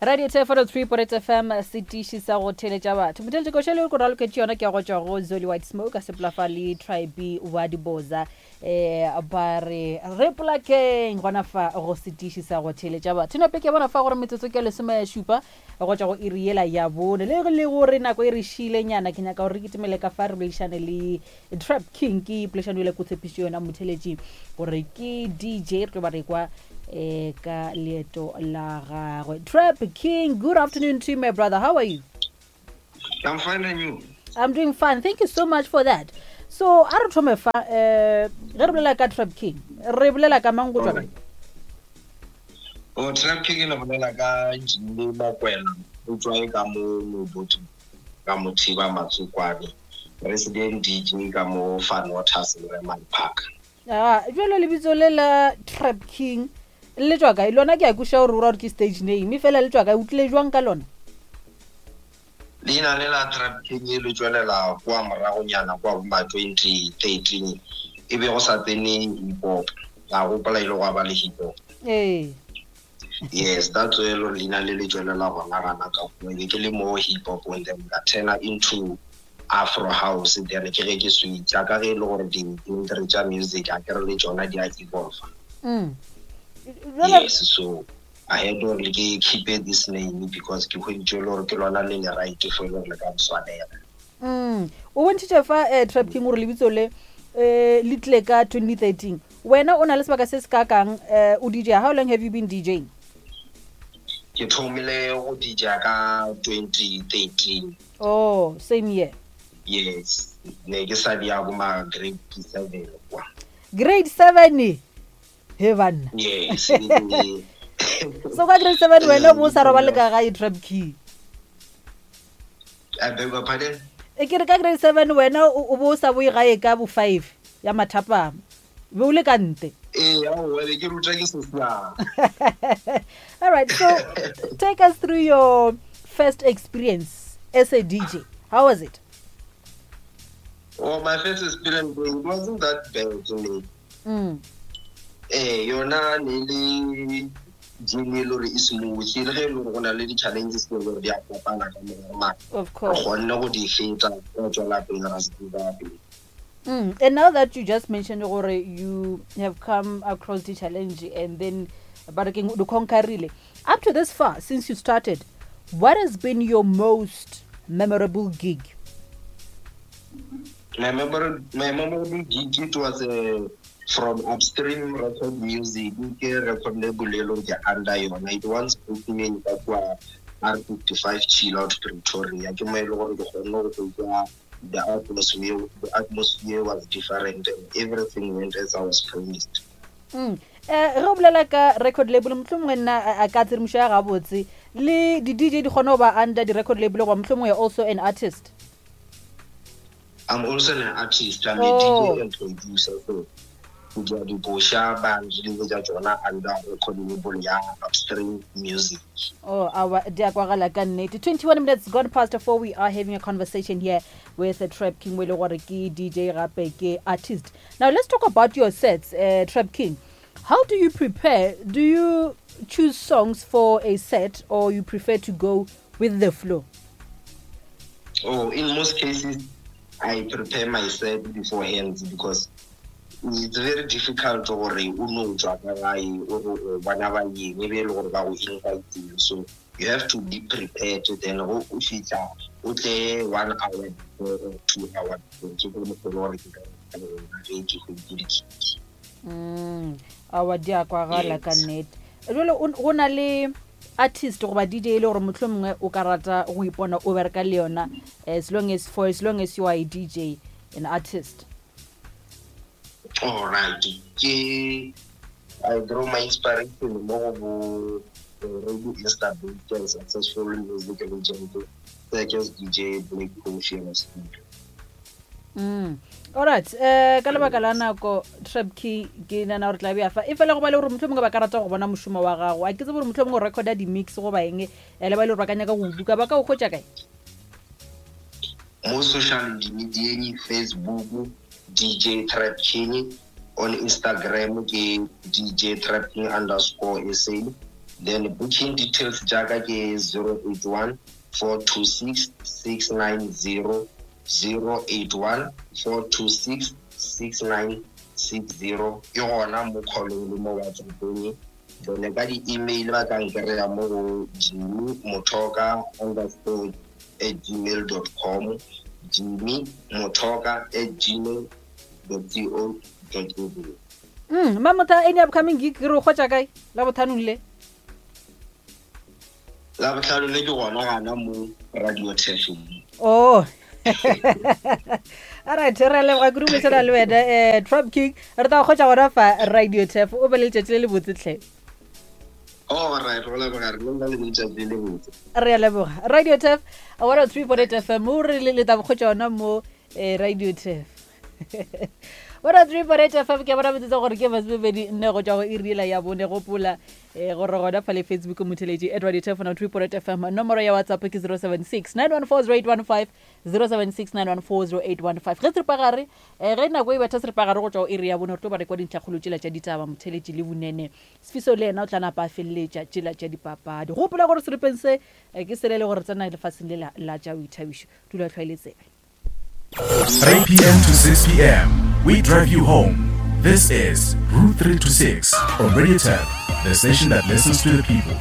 Radio 243 Porets FM setiši sa go theletša batho. Motheletši koša le go raloketše yona ke ya go tšwa go Zoli White Smoke a sepela fa le Tribe wa Diboza eh ba re re polakeng gona fa go setiši sa go theletša batho. Nope ke bona fa gore metsotso ke lesome šupa go tšwa go iri yela ya bone le le gore nako e re šile nyana ke nyaka gore re kitimele ka fa re boledišane le Trap King ke poledišano ile ko tshepišo yona motheletši gore ke DJ re tlo ba re kwa eh ka leeto la gagwe. Trap King, good afternoon to you my brother. How are you? I'm fine and you? I'm doing fine. Thank you so much for that. So a re thome fa eh ge re bolela ka Trap King, re bolela ka mang go tswa kae? O Trap King le bolela ka Jimmy Mokwena, o tswa e ka mo Mobotu ka Mothiba Matsokwane, resident DJ ka mo Van Waters Lemang Park. Ah, jalo lebitso le la Trap King le tswa kae? Lona ke a kweša gore o ra gore ke stage name, e fela le tswa kae? O tlile jwang ka lona? Leina le la Trap King le tšwelela kua moragonyana kua bo ma 2013 e be go sa tsene hip hop. Ka gopola ile gwa ba le hip hop. Ee. Yes, that's where lo leina le le tšwelela gona gana ka kua. Be ke le mo hip hop and then ka turna into Afro house then ke ge ke switcha ka ge e le gore di-genre tša music a ke re le tšona di a evolve. Yes, so I had gore ke keep this name because ke hweditše e le gore ke lona le le right for e le gore le ka ntshwanela. O bontšhitše fa eh, Trap King gore lebitso le eh, le tlile ka 2013. Wena o na le sebaka se se kakang eh, o DJ. How long have you been DJing? Ke thomile go DJ ka 2013. Oh, same year. Yes, ne ke sa di ya bo ma grade 7 kwa. Grade 7. He banna. Yes. So ka grade 7 wena o bo o sa robale ka gae Trap King. I beg your pardon? E ke re ka grade 7 wena o bo o sa boe gae ka bo 5 ya mathapama. Be o le ka nte. Ee, aowa, be ke ruta ke sesiang. All right, so take us through your first experience as a DJ. How was it? Oh, my first experience, it wasn't that bad to me. Eh, yona ne le journey e le gore e smooth, le ge e le gore go na le di-challenges tse e le gore di a kopana ka mogare, mara Of course. re kgonne go di feta, ra tswela pele, ra se give up. And now that you just mentioned gore you have come across the challenge and then ba re keng, o di conquerile. Up to this far, since you started, what has been your most memorable gig? My memorable gig, it was from Upstream Record Music, ke record label e leng ke under yona. It once booked me ka kua R55 Chill Out Pretoria. Ke mo e le gore ke kgonne go hwetša the atmosphere was different and everything went as I was promised. Ge o bolela ka record label, mohlomongwe nna a ka tshedimošo ya gabotse le di-D J di kgone go ba under di-record label, goba mohlomongwe you're also an artist? I'm also an artist. I'm a DJ and producer. So ke dira dikoša, ba nreleasetša tšona under record label ya Upstream Music. Oh, awa, di a kwagala ka nnete. 21 minutes gone past 4, we are having a conversation here with Trap King, mo e le gore ke DJ gape ke artist. Now let's talk about your sets, Trap King. How do you prepare? Do you choose songs for a set or you prefer to go with the flow? Oh, in most cases, I prepare my set beforehand because it's very difficult gore o no tswa ka gae, o re o bona ba eng, e be e le gore ba go invitile. So you have to be prepared. Then go o fihla o tle 1 hour before or 2 hour before. Ke go mokgwa gore ke ka ge ke hweditse di-gig. Aowa, di a kwagala ka nnete. Jwale go na le artist goba DJ e le gore mohlomongwe o ka rata go ipona o bereka le yona for as long as you are a DJ, an artist? All right, ke I draw my inspiration mo go bo already established and successful music legend such as DJ Black Coffee and Studio. All right, ka lebaka la nako Trap King ke nana gore tla bea fa e fela go ba le gore mohlomongwe ba ka rata go bona mošomo wa gago. A ke tsebe gore mohlomongwe o recorda di-mix goba eng, le ba e le gore ba ka nyaka go buka, ba ka o hwetša kae? Mo social media, Facebook DJ Trap King, on Instagram ke DJ Trap King underscore SA. Then booking details tša ka ke 081 426 690 081 426 6960 ke gona mo callong le mo WhatsAppong. Then ka di-email ba ka nkry-a mo go Jimmy Mothoka underscore at gmail dot com, Jimmy Mothoka at gmail dot co dot za. Mamotha, any upcoming gig re o kgotša kae la bothanong le? La bohlano le ke gona gana mo Radio Tefeng. Oh. Alright, re a leboga kudu boledišana le wena Trump King. Re tla go kgotša gona fa Radio Tef. O be le letšatši le le botse tlhe. Oh, right, go leboga re le le letšatši le botse. Re a leboga. Radio Tef 103.8 FM. O re le tla go kgotša gona mo Radio Tef. 103.8 FM ke bona metsotso gore ke masomepedi nne go tšwa go iri yela ya bone. Gopola gore gona fa le Facebook motheletši at Radio Tef 103.8 FM. Nomoro ya WhatsApp ke 076 914 0815, 076 914 0815. Ge seripagare, ge nako e betha seripagare go tšwa go iri ya bone, re tlo ba re kwa dintlhakgolo tšela tša ditaba motheletši le Vunene. Sefiso le yena o tla napa a feleletša tšela tša dipapadi. Gopola gore seripeng se ke sele e le gore tsena lefaseng le la tša boithabišo. Dula hlwaile tsebe. 3 p.m. to 6 p.m. We drive you home. This is Route 3 to 6 on Radio Tap, the station that listens to the people.